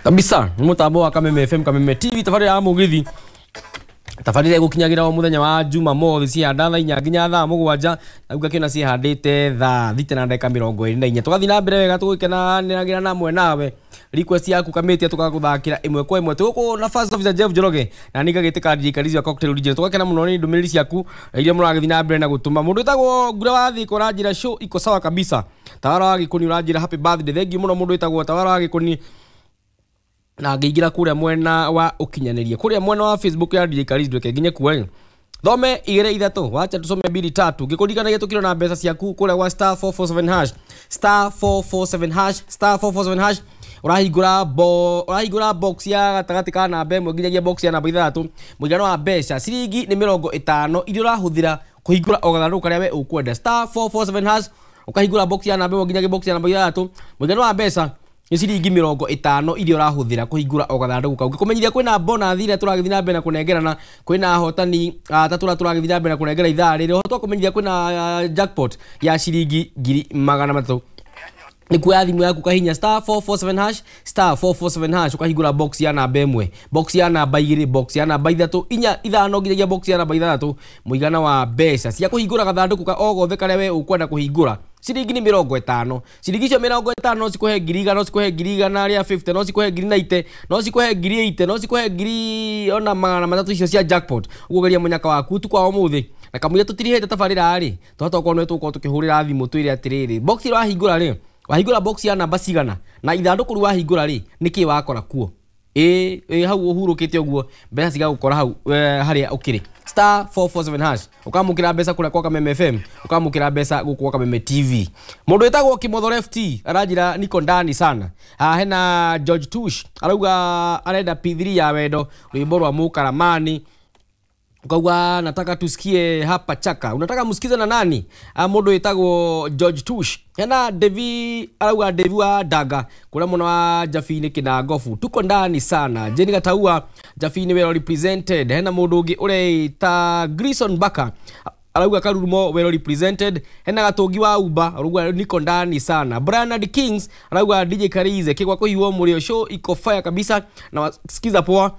Kabisa nĩ mũtambo wa Kameme FM, Kameme TV, tabarĩra ya mũgithi, tabarĩra ĩgũkinyagĩra o mũthenya wa Jumamothi cihanda thaa 4 nginya thaa 7, na ngakĩona cihandĩte thaa 6:24. Tũgathiĩ na mbere wega tũgĩkenanĩragĩra na mwenawe request yaku kamĩtia tũgagũthakĩra ĩmwe kwa ĩmwe. Tũgũkũ na First Officer Jeff Njoroge na niĩ ngagĩtĩka DJ Karizi wa Cocktail Original. Tũgakena mũno nĩ ndũmĩrĩri ciaku iria mũragĩthiĩ na mbere na gũtũma. Mũndũ wĩtagwo Ngura wa Thika ũranjĩra show iko sawa kabisa. Tawara wa Gĩkũni ũranjĩra happy birthday. Thank you mũno mũndũ wĩtagwo Tawara wa Gĩkũni. Na ngĩingĩra kũrĩa mwena wa ũkinyanĩria, kũrĩa mwena wa Facebook ya DJ Karizi, ndweke nginye kuo thome 2 3, wacha tusome 2 3. Ngĩkũririkanagia tũkĩrwo na mbeca ciaku kũrĩa gwa star 447 hash, star 447 hash, star 447 hash. Ũrahingũra box ya gatagatĩ ka namba 1 nginyagia box ya namba 6. Mũigana wa mbeca ciringi nĩ 50 iria ũrahũthĩra kũhingũra o gathandũkũ karĩa we ũkwenda. Star 447 hash, ũkahingũra box ya namba 1 nginyagia box ya namba 6. Mũigana wa mbeca nĩ ciringi 50 iria ũrahũthĩra kũhingũra o gathandũkũ kau. Ngĩkũmenyithia kwĩna bonus iria tũragĩthiĩ na mbere na kũnengerana, kwĩna ahotani atatũ arĩa tũragĩthiĩ na mbere na kũnengera ithaa rĩrĩ. Ũhoro twakũmenyithia kwĩna jackpot ya ciringi 300,000. Nĩ kuoya thimũ yaku kahinya star 447 hash, star 447 hash, ũkahingũra box ya namba 1, box ya namba 2, box ya namba 3, 4, 5 nginyagia box ya namba 6. Mũigana wa mbeca cia kũhingũra gathandũkũ ka o gothe karĩa we ũkwenda kũhingũra ciringi nĩ 50. Ciringi icio 50 no cikũhe 100,000, no cikũhe 150,000, no cikũhe 90,000, no cikũhe 80,000, no cikũhe ngiri ona 300 icio cia jackpot. Ũguo geria mũnyaka waku ũtukũ wa ũmũthĩ. Na kamũira tũtirihĩte tabarĩra rĩ, twahota gũkorwo nĩ tũgũkorwo tũkĩhũrĩra thimũ twĩre atĩrĩrĩ, box ĩrĩa wahingũra rĩ, wahingũra box ya namba cigana, na ithandũkũ rĩu wahingũra rĩ, nĩkĩĩ wakora kuo. Ĩ hau ũhurũkĩte ũguo mbeca cigagũkora hau harĩa ũkĩrĩ. Star 447 hash, ũkamũkĩra mbeca kũrĩa kwa Kameme FM, ũkamũkĩra mbeca gũkũ kwa Kameme TV. Mũndũ wĩtagwo Kimotho Left aranjĩra niko ndani sana. Hena George Tush arauga arenda P3 ya wendo, rwĩmbo rwa Mũkaramani. Ukauga nataka tusikie hapa chaka. Unataka msikize na nani? Mũndũ wĩtagwo George Tush. Hena Devi arauga Devi wa Daga kũrĩa mũno wa Jabini Kinangofu, tuko ndani sana. Jeni Gataua Jabini well represented. Hena mũndũ ũngĩ ũreita Grison Baka arauga Karurumo well represented. Hena Gatũngi wa Uba arauga niko ndani sana. Bernard Kings arauga DJ Karize kigwa kũhiwo mũrĩo show iko fire kabisa na wasikiza poa.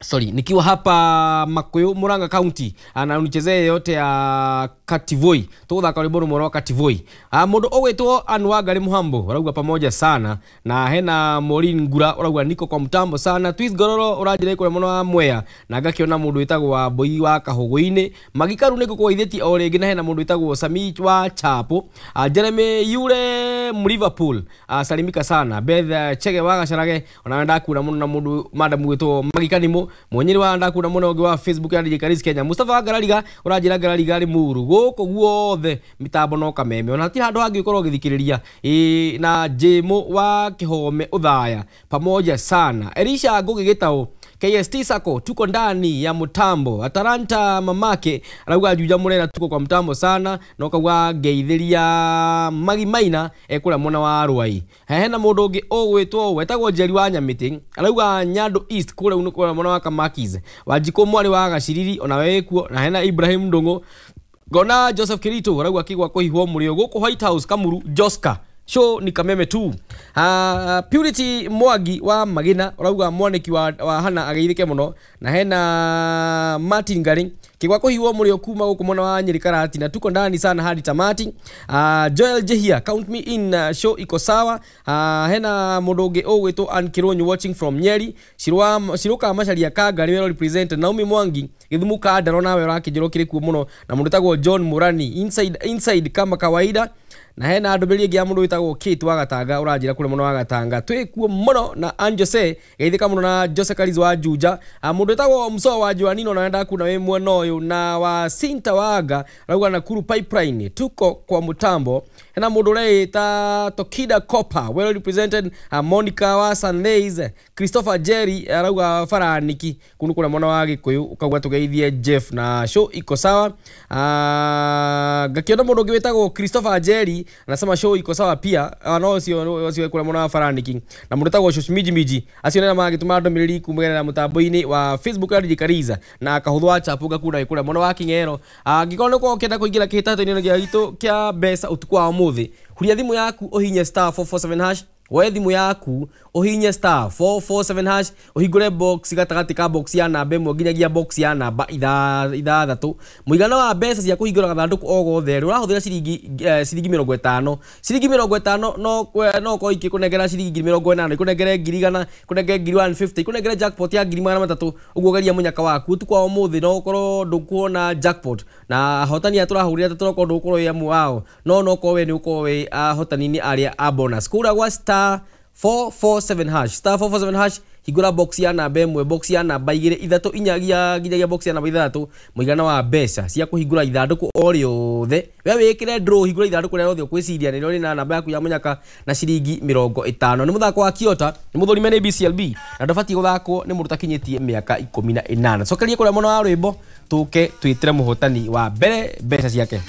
Sorry, nikiwa hapa Makuyu Murang'a County na unichezee yote ya Kativoi. Tũgũthaka rwĩmbo rũmwe rwa Kativoi. Mũndũ ũgwĩtwo Anwagari Muhambo arauga pamoja sana. Na hena Maureen Ngura arauga niko kwa mtambo sana. Twist Gororo ũranjĩra kũrĩa mũno wa Mwea. Na ngakĩona mũndũ wĩtagwo wa Mbui wa Kahũgũ-inĩ. Magikaru nĩ ngũkũgeithĩtie o rĩngĩ. Na hena mũndũ wĩtagwo Sami wa Chapo. Jeremy Yule Liverpool salimika sana. Beth Chege wa Gacarage ona ndakura mũno na mũndũ madam wĩtwo Magikanimo Mwenyeri wa ndakura mũno ũngĩ wa Facebook ya DJ Karizi Kenya. Mustafa Ngarariga ũranjĩra Ngarariga rĩ mũru gũkũ guothe mitambo no Kameme ona hatirĩ handũ hangĩ ũkorwo ũgĩthikĩrĩria. Na Jemo wa Kĩhome Ũthaya pamoja sana. Elisha Ngugi Gĩtaũ KST Sako tuko ndani ya mtambo. Atalanta mamake arauga Juja Murera tuko kwa mtambo sana. Na ukauga ngeithĩria Magi Maina ekũrĩa mwena wa Rwai. Hena mũndũ ũngĩ ũgwĩtwo wetagwo Njeri wa Nyamĩtĩ arauga Nyando East kũrĩa kũrĩa mwena wa Kamakis. Wanjikũ mwarĩ wa Gaciriri ona we kuo. Na hena Ibrahim Ndung'u. Ngona Joseph Kirito arauga kigwa kũhihwo mũrĩo gũkũ White House Kamuru Joska show ni Kameme tu. Purity Mwangi wa Magina urauga mwaniki wa Hana ageithike muno. Na hena Martin Ngari kigwa kũhiwo mũrĩo kuma gũkũ mwena wa Nyeri Karati na tuko ndani sana hadi tamati. Joel Jehia count me in, show iko sawa. Hena mũndũ ũngĩ ũgwĩtwo Ann Kironyo watching from Nyeri. Shiruka Macharia Kangari well represent. Naomi Mwangi Githumu Kandaro nawe ũrakĩnjĩra ũkĩrĩ kuo mũno. Na mũndũ wĩtagwo John Murani inside kama kawaida. Na hena ndũmĩrĩri ĩngĩ ya mũndũ wĩtagwo Kate wa Gatanga ũranjĩra kũrĩa mũno wa Gatanga twĩ kuo mũno. Na Anjose geithĩka mũno na Jose Karizi wa Juja. Mũndũ wĩtagwo Mso wa Joanino na wenda kuna wĩ mwena ũyũ. Na wa Sinta Waga arauga Nakuru Pipeline tuko kwa mtambo. Hena mũndũ ũreĩta Tokida Copper well represented. Monica wa Sundays Christopher Jerry arauga Faraniki kunu kũrĩa mwena wa Gĩkũyũ ũkauga tũgeithie Jeff na show iko sawa. Ngakĩona mũndũ ũngĩ wĩtagwo Christopher Jerry anasema show iko sawa pia. No cio kũrĩa mwena wa Faraniki. Na mũndũ wĩtagwo Shosh Miji Miji acio nĩ magĩtũma ndũmĩrĩri kumĩgerera mũtambo-inĩ wa Facebook ya DJ Kariza na kahũthũ wa Chapu ngakuna kũrĩa mwena wa King'ero. Angĩkorwo nĩ ũkorwo ũkĩenda kũingĩra kĩhĩtahĩtano-inĩ gĩa gitũ kĩa mbeca ũtukũ wa ũmũthĩ, huria thimũ yaku ũhinye star 447 hash Woe thimũ yaku ũhihinye star 447 hash, ũhingũre box gatagatĩ ka box ya namba 1 nginyagia box ya namba 6. Mũigana wa mbeca cia kũhingũra gathandũkũ o gothe rĩ, ũrahũthĩra ciringi 50. Ciringi 50 no ũkorwo ikĩkũnengera ciringi 80,000, ikũnengere 100,000, ikũnengere 150,000, ikũnengere jackpot ya 300,000. Ũguo geria mũnyaka waku ũtukũ wa ũmũthĩ, no ũkorwo ndũkuona jackpot na ahotani aya tũrahũrĩra tũrokorwo ndũgũkorwo wĩ amwe ao, no ũkorwo we nĩ ũkorwo wĩ ahotani-inĩ arĩa a bonus. Kũrĩa gwa star 447 hash, star 447 hash, hingũra box ya namba 1, box ya namba 2, 3, 4 nginyagia box ya namba 6. Mũigana wa mbeca cia kũhingũra ithandũkũ o rĩothe, we wĩkĩre draw, hingũra ithandũkũ rĩrĩa rĩothe ũkwĩciria nĩrĩo rĩna namba yaku ya mũnyaka na ciringi 50. Nĩ mũthako wa Kiota, nĩ mũthũrime nĩ BCLB na ndũbatiĩ gũthakwo nĩ mũndũ ũtakinyĩtie mĩaka 18. Cokeria kũrĩa mwena wa rwĩmbo tũke twĩtĩre mũhotani wa mbere mbeca ciake.